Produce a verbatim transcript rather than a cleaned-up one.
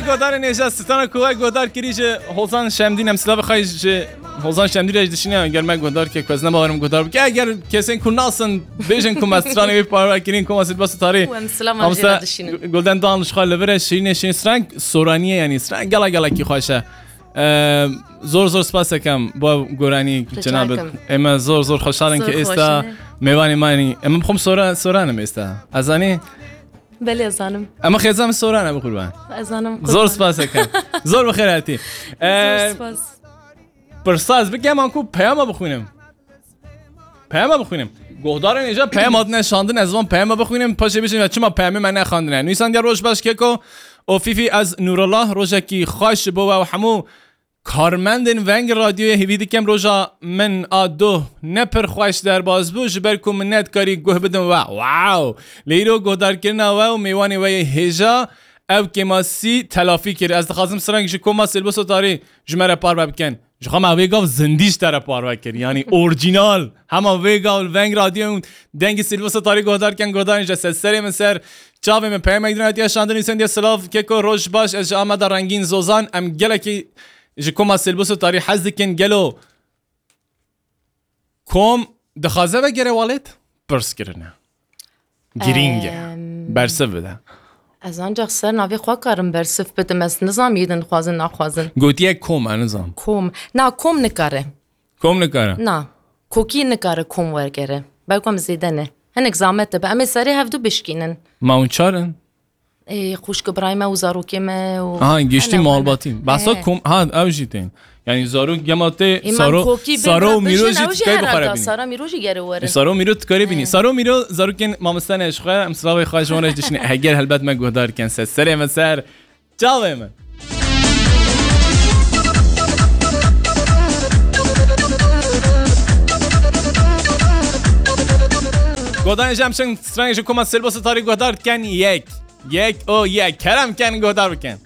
Godarên hêja, strana ku we guhdar kirî ji Hozan Şemdîn, em silavê xwe ji Hozan Şemdîn re ji dişîne, ger me guhdar ke, ku ez ne bawerim guhdar bike. Eger kesên ku nasin bêjin ku me stranê wê parve kirîn, koma Silbas û Tarî. Û em silavan jê Mamoste re dişînin. Gu-, Gulden Dan ji xwe li vir e, şirînê şirîn streng, soraniye, yanî streng gela gelekî xweş e. Eee, zor zor spas ekem bo goranî. Rica cenabê. Ekim. Ême zor zor xweşhal in Zor ki êsta xweş e. Mêvanê me, yanî ême bixwim sora-, soranim êsta. Ez zanî? Belê, ez zanim. Ema xêza min soran e, bi qurban. Ez zanim, Zor qurban. Spas ekem. Zor bi xêr hatî. Zor Ee, spas. Pirsa ez bikem, an ku peyama bixwînim. Peyama bixwînim. Gohdarên êja peyam hatine şandin, ez van peyama bixwînim, paşê bişim ya çima peyamê me nexandine. Nûîsandiya roj baş keko û Fîfî, ez Nûrullah, rojekî xweş bo we û hemû karmendên Veng Radyoyê. Hêvî dikim roja min a doh ne pir xweş derbas bû, ji ber ku min nedikarî guh bidim we. Wow! Lê îro guhdarkirina we û mêwanê we yê hêja ew kêmasî telafî kir. Ez dixwazim streng ji koma Sêlbos û Tarî ji me re parve bikin. Ji xwe me vê gav zindî ji te re parve kir. Yanî orjînal. Hema vê gav li Veng Radyo û dengê Sêlbos û Tarî guhdar kin, guhdarên ji ser serê min ser. Çavê min peyamek din hatiye şandin, nûsendiye silav, keko roj baş, ez ji Ameda Rengîn Zozan, em gelekî ji koma Sêlbos û Tarî hez dikin, gelo kom dixwaze vegere welêt? Pirs kirine. Girîng e. Em. Bersiv bide. Ez ancak ser navê xwe karim bersiv bidim, ez nizam yê din dixwazin naxwazin. Gotiye kom, ez nizam. Kom. Na, kom nikare. Kom nikare? Na. Kokî nikare kom wergere. Belkom zêde ne. Hinek zahmet dibe. Em ê serê hevdu bişkînin. Ma hûn çar in? Ê, xwişk birayê me û zarokê me û Aha, giştî malbatî. Behsa kom, ha, ew jî tên. Yanî zarok gema tê, Ê, saro, saro û mîro jî dikarî bixwe re bînî. Sara mîro jî gere werin. Ê, saro mîro dikarî bînî. Saro mîro zarokên mamoste ne ji xwe, em silavê xwe ji wan re dişîne. Heger helbet me guhdar kin. Ser serê me ser. Çavê min. Godanê jem şin streng ji koma Sêlbos û Tarî guhdar dikin. Yek. Yek o yek. Kerem ken guhdar bikin.